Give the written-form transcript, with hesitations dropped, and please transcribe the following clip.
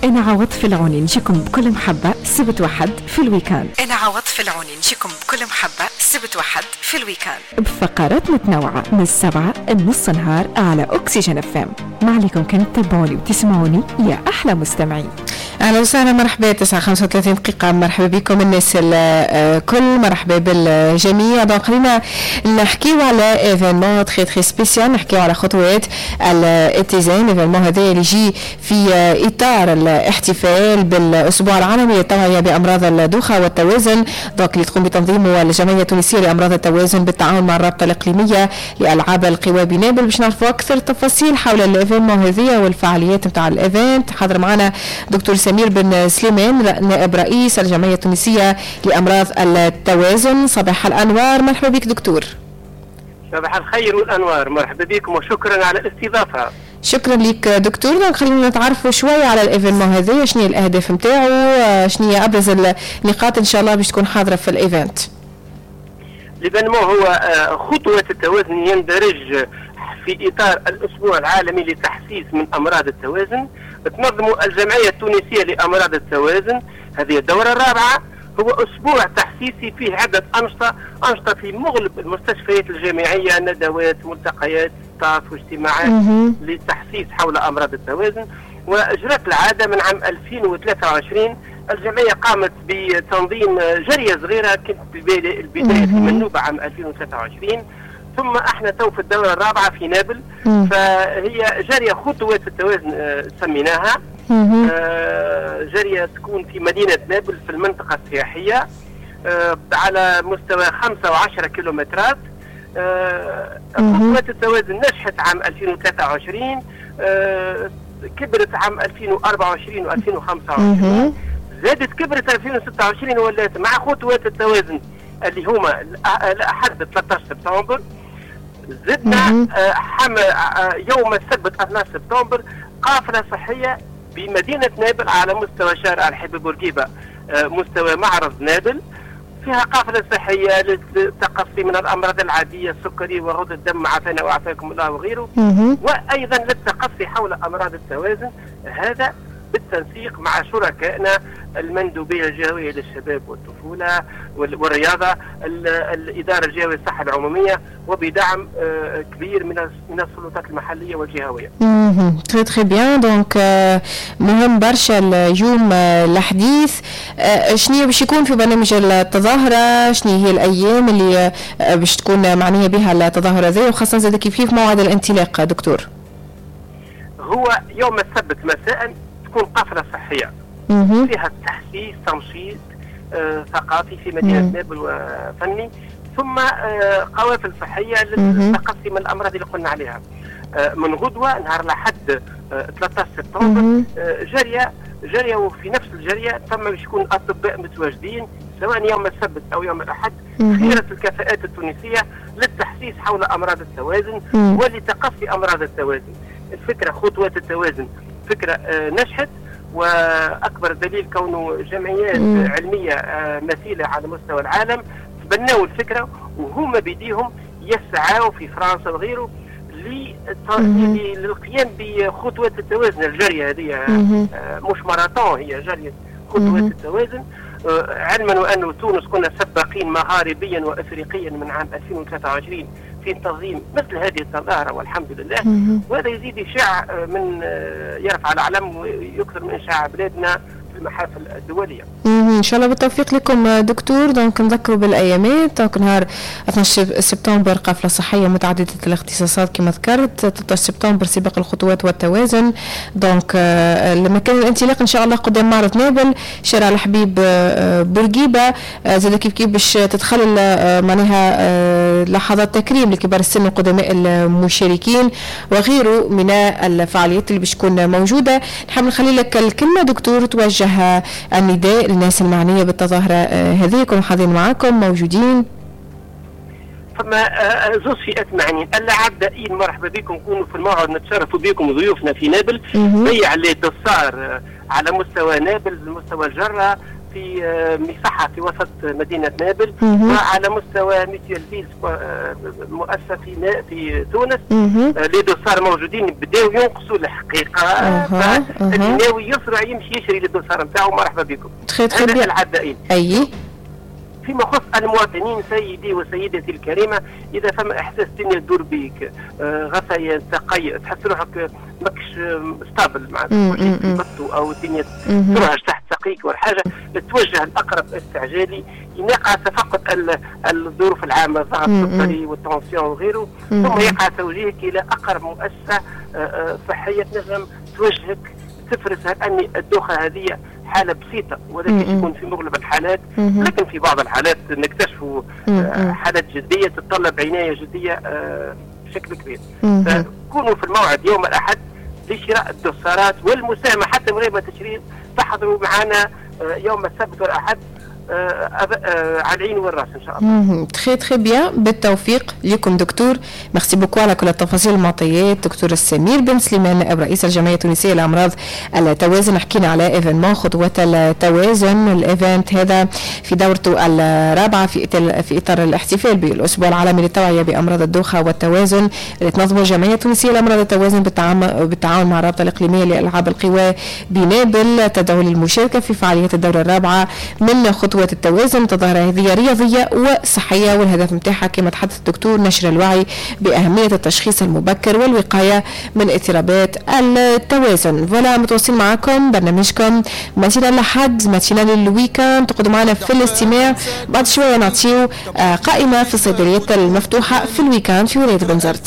أنا عوض العوني نجيكم بكل محبة سبت وحد في ال week-end. أنا عوض العوني نجيكم بكل محبة سبت وحد في ال week-end بفقرات متنوعة من 7 لنص نهار على أكسجين FM. ما عليكم كان تتابعوني وتسمعوني يا أحلى مستمعين. اهلا وسهلا، مرحبا. 9:35 دقيقة، مرحبا بكم الناس الكل، مرحبا بالجميع. donc خلينا نحكيو على événement très très spécial، نحكيو على خطوات الاتزان. événement هذا اللي يجي في اطار الاحتفال بالاسبوع العالمي للتوعية بامراض الدوخه والتوازن، donc اللي تقوم بتنظيمه الجمعية التونسية لامراض التوازن بالتعاون مع الرابطة الاقليمية لالعاب القوى بنابل. باش نعرفوا اكثر تفاصيل حول ال événement هذه والفعاليات نتاع ال event، حاضر معنا دكتور سمير بن سليمان، نائب رئيس الجمعية التونسية لأمراض التوازن. صباح الأنوار، مرحبا بك دكتور. صباح الخير والأنوار، مرحبا بكم وشكرا على الاستضافة. شكرا لك دكتور. خلينا نتعرفوا شوية على ال événement هذا، شنو هي الأهداف نتاعو، شنو هي أبرز النقاط إن شاء الله باش تكون حاضرة في ال event. l'événement هو خطوة التوازن، يندرج في إطار الأسبوع العالمي لتحسيس من أمراض التوازن. تنظم الجمعية التونسية لأمراض التوازن هذه الدورة الرابعة. هو أسبوع تحسيسي فيه عدة أنشطة في مغلب المستشفيات الجامعية، ندوات، ملتقيات، staff واجتماعات للتحسيس حول أمراض التوازن. وأجرت العادة من عام 2023 الجمعية قامت بتنظيم جرية صغيرة كانت البداية في منوبة عام 2023، ثم احنا تو في الدورة الرابعة في نابل. فهي جارية خطوات التوازن سميناها، جارية تكون في مدينة نابل في المنطقة السياحية، على مستوى 5 و10 كيلومترات. خطوات التوازن نجحت عام 2023، كبرت عام 2024 و2025، زادت كبرت 2026 ولات مع خطوات التوازن اللي هما الأحد 13 سبتمبر. زدنا يوم السبت 12 سبتمبر قافلة صحية بمدينة نابل على مستوى شارع الحبيب بورقيبة، مستوى معرض نابل، فيها قافلة صحية للتقصي من الأمراض العادية، السكري وغدد الدم، عافانا وعافاكم الله وغيره، وأيضا للتقصي حول أمراض التوازن. هذا بالتنسيق مع شركائنا المندوبية الجهوية للشباب والطفولة والرياضة، الإدارة الجهوية للصحة العمومية، وبدعم كبير من السلطات المحلية والجهوية. très très bien. donc مهم برشا اليوم الحديث، شنو باش يكون في برنامج التظاهرة، شنو هي الأيام اللي باش تكون معنية بها التظاهرة ذي، وخاصة زاد كيف كيف موعد الانطلاق دكتور؟ هو يوم السبت مساء تكون قافلة صحية فيها تحسيس، تنشيط ثقافي في مدينة نابل وفني، ثم قوافل صحية للتقصي من الأمراض اللي قلنا عليها. من غدوة نهار الأحد 13 سبتمبر جارية، وفي نفس الجارية ثم باش يكون أطباء متواجدين سواء يوم السبت أو يوم الأحد، خيرة الكفاءات التونسية للتحسيس حول أمراض التوازن ولتقصي أمراض التوازن. الفكرة خطوات التوازن فكرة نجحت، وأكبر دليل كونه جمعيات علمية مثيلة على مستوى العالم تبنوا الفكرة وهما بيديهم يسعوا في فرنسا وغيره للقيام بخطوات التوازن. الجرية هذه مش ماراثون، هي جرية خطوات التوازن. علما وأن تونس كنا سباقين مغاربيا وأفريقيا من عام 2023 في تنظيم مثل هذه التظاهرة والحمد لله. وهذا يزيد إشاع من يرفع العلم ويكثر من إشاع بلادنا في المحافل الدولية. إن شاء الله بالتوفيق لكم دكتور. donc نذكروا بالأيامات، donc نهار 12 سبتمبر قافلة صحية متعددة الاختصاصات كما ذكرت، 13 سبتمبر سباق الخطوات والتوازن. donc المكان الانطلاق إن شاء الله قدام معرض نابل، شارع الحبيب بورقيبة. زاد كيف كيف باش تتخلل معناها لحظات تكريم لكبار السن وقدماء المشاركين وغيره من الفعاليات اللي باش تكون موجودة. نحب نخلي لك الكلمة دكتور، توجه النداء للناس المعنية بالتظاهرة هذه، يكونوا حاضرين معاكم موجودين. فما زوج فئات معنيين، العدائين مرحبا بكم، كونوا في الموعد، نتشرفوا بكم ضيوفنا في نابل. بيع اللي تصار على مستوى نابل، مستوى الجرة، في مصحة في وسط مدينة نابل، وعلى مستوى Mutuelle Ville، مؤسسة في تونس. Les dossards موجودين، بداو ينقصوا الحقيقة، فاللي ناوي يسرع يمشي يشري les dossards نتاعو، مرحبا بكم. très très bien. العدائين. فيما يخص المواطنين، سيدي وسيدتي الكريمه، اذا فما احساس الدنيا تدور بيك، غثيان، تقيؤ، تحس روحك ماكش stable مع او الدنيا ترعش تحت ساقيك ولا حاجه، توجه لاقرب استعجالي، يقع تفقد الظروف العامه، الضغط السكري وال tension وغيره، ثم يقع توجيهك الى اقرب مؤسسة صحية تنجم توجهك تفرز هل ان الدوخه هذه حاله بسيطه، ولكن يكون في مغلب الحالات، لكن في بعض الحالات نكتشفوا حالات جدية تتطلب عناية جدية بشكل كبير. فكونوا في الموعد يوم الاحد لشراء الدوسارات والمساهمه، حتى من غير ما تشري تحضروا معنا يوم السبت والاحد على العين والراس ان شاء الله. très très bien، بالتوفيق لكم دكتور، merci beaucoup على كل التفاصيل المعطيات. دكتور السمير بن سليمان، نائب رئيس الجمعية التونسية لامراض التوازن، حكينا على événement خطوات التوازن. ال event هذا في دورته الرابعة في اطار الاحتفال بالاسبوع العالمي للتوعية بامراض الدوخه والتوازن، اللي تنظمه الجمعية التونسية لامراض التوازن بالتعاون مع الرابطة الاقليمية لالعاب القوى بنابل، تدعو للمشاركة في فعاليات الدورة الرابعة من خطوات التوازن. تظاهرة هذه رياضية وصحية، والهدف متاعها كما تحدث الدكتور نشر الوعي بأهمية التشخيص المبكر والوقاية من اضطرابات التوازن. voilà، متواصلين معكم برنامجكم matinale الأحد، matinale ال week-end، تقعدوا معنا في الاستماع. بعد شوية نعطيو قائمة في الصيدليات المفتوحة في ال week-end في ولاية بنزرت.